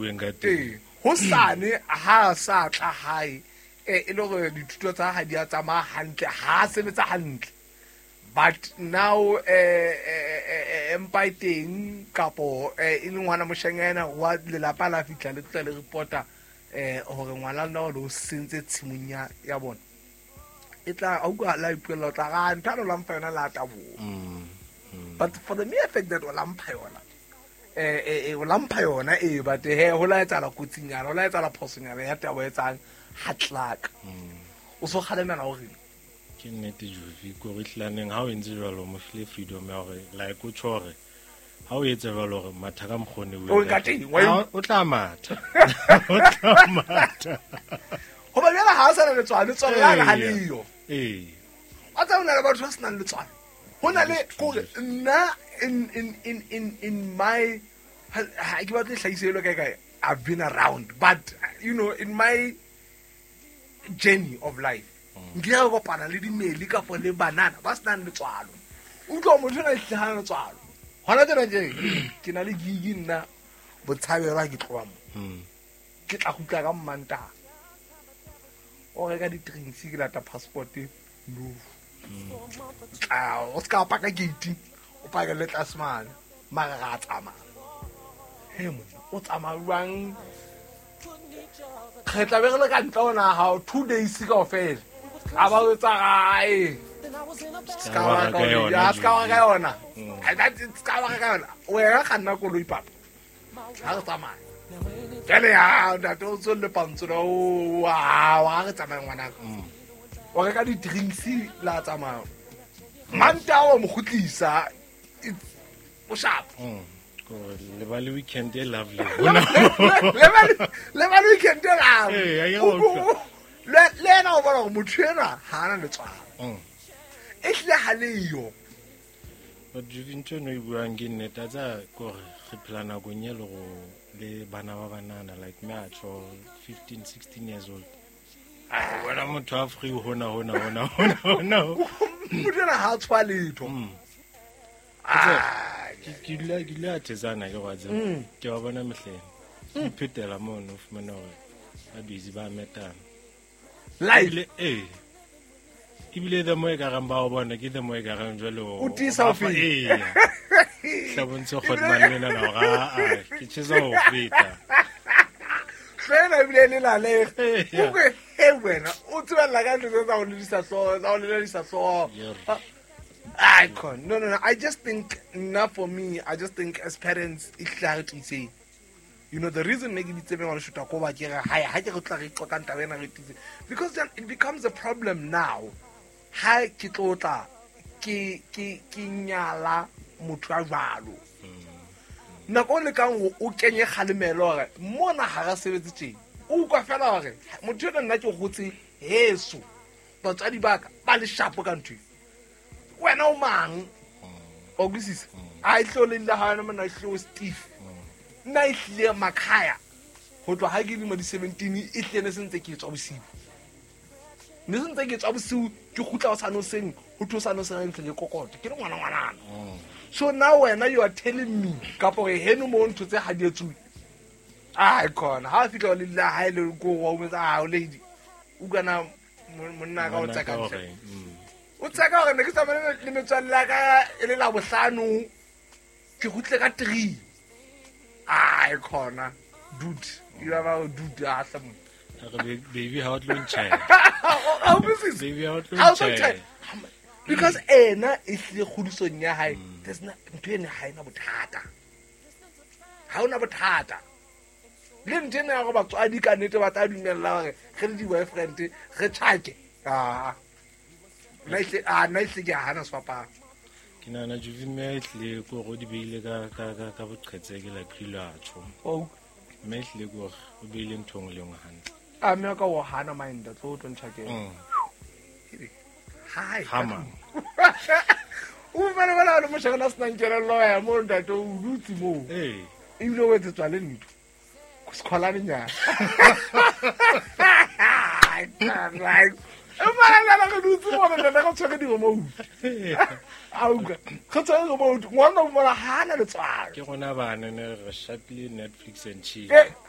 bueng ka teng. Ee, hosane ha a sa tla hae, e le gore dithuto tsa ha di a tsamaya hantle, ha a sebetsa hantle, but now empa e teng kapo e le ngwana moshanyana wa lelapa la fihla le tla le reporta hore ngwana lona o le o sentse tshimong ya bona, e tla a utlwa la ipuella, o tla ga ntho a lo lampha yona la taboha. But for the mere fact that o lampha yona, o lampha yona ee, but he ho la etsahala kotsinyana, ho la etsahala phosonyana ya tabo e etsang ha tlaka, o so kgalemela o reng? Ke nnete, Juvi, ko re tlaneng ha o entse jwalo, mo file freedom ya hore like o tjho hore ha o etse jwalo hore matha ka mokgone. O ka teng, O tla matha, o tla matha. Hoba jwale ha a sa na letswalo, letswalo la ha leyo. Wa tseba, ho na le batho ba senang letswalo, ho na le kore nna in my ha ke batle hlahise elo kae kae, I've been around, but in my journey of life nkile ka kopana le dimeli kapo le banana ba senang letswalo. Utlwa, motho o na hlahana letswalo hona tjena tje. Ke na le gig nna Botshabelo, ha ke tloha mo ke tla kgutla ka Mmantaha, o reka di-drinks, ke lata passport, no tla o se ka paka gate, o pake le tlase mane, mara ra tsamaya. He monna, o tsamaya jwang? Re tla be re le ka ntle ona hao 2 days kaofela, a ba o etsa gae. Ska wa ka yona. Ya, ska wa ka yona. Ska wa ka yona. Wena kganna koloi, papa, ha re tsamaya jale ya ntate o tswelle pantsona o wa re tsamaya, ngwanaka, o reka di-drinks, la tsamaya Mantaha, wa mo kgutlisa, o sharp. Kore le ba le weekend e lovely. Le ba le weekend e lovely. Ee, a ke utlwa. Le ena o bona gore motho enwa ha ana letswalo, e hlile ha leyo. But Juvi, ntho eno e buang ke nnete, a tsa kore re phela nakong e le go le bana ba banana, like me a tjho 15 16 years old, o bona motho a free hona hona hona hona hona. Motho ena ha a tshwa letho. Ah, Ke dula a thetsana ke go tseba, ke ba bona mehleng ke iphetela mono, o fumana hore ba busy ba metana. Live. Ebile ee, ebile the more e ka reng ba o bona ke the more e ka reng jwale O tiisa ho o ba fa- feta. Ee, tla bontshe kgotman lena na hore aa ke tjhesa ho feta. Hlwela ebile le lale. Ee. O he wena o tsebella ka ntho tse tsa go ledisa hlooho, tsa go ledisa hlooho. Icon. No, no, no. I just think, not for me. I just think as parents, e hlile ha re tiiseng. The reason ne ke bitse ngwana shuta ko ba ke re hae ha ke re tla re qoqang taba ena, re tiise. Because then it becomes a problem now. Ha ke tlo tla ke nyala motho a jwalo. Nako o lekang hore o kenye kgalemelo hore mona ha re sebetse tjena. O utlwa fela hore motho ena nna ke hotse heso. Batswadi ba ka ba le sharp ka ntho e. Wena o mang, wa utlwisisa? A e tlo le la ha mona e tlo stiff, nna e hlile makhaya ho tloha ha ke lemo di 17, e hlile ne sentse ke tswa bosiu, ne sentse ke tswa bosiu, ke kgutla ho sane hoseng, ho thwe sane hoseng ntse ke kokote ke le ngwana ngwanana. So now wena you are telling me kapo gore heno mo ntho tse ha di etsuwe. Ai khona ha fihla le la ha ile ko wa o metsa ha o lady o kana monna ka o Ngwana tsaka ka ntle. hore, O tseka gore ne ke tsamaye le metswalle ya ka e le la bohlano, ke kgutle ka 3. Ai khona dude, you are a dude a hla monna. A re, "Baby, ha o tlo ntjhaela." Ha o utlwisise? Baby, ha o tlo Ha o tlo ntjhaela. ntjhaela. Because ena e hlile kgodisong ya hae, there's no ntho ene ha ena bothata, ha ona bothata le ntho ena ya gore batswadi ka nnete ba tla dumella gore re le di-boyfriend re tjhake. Aa, nna nna ehlile ke a hana sefapano. Ke nahana Juvi mme e hlile ke hore o di beile ka boqhetseke, like rile a tjho. Mme e hlile ke hore o beile ntho e nngwe le nngwe hantle. A mme ka o hana mind tlo o tlo ntjhakela. Hai. Hama. O fumane bana le moshakana a senang kelello ya mo ntate, o dutse moo, ebile o etsetswa le ntho sekgolanenyana emara re dutse mona ntate re tshwere di-remote, a utlwa, re tshwere remote, ngwana o mona ha ana letswalo. Ke rona bana ne re shapile Netflix and chill. Eh.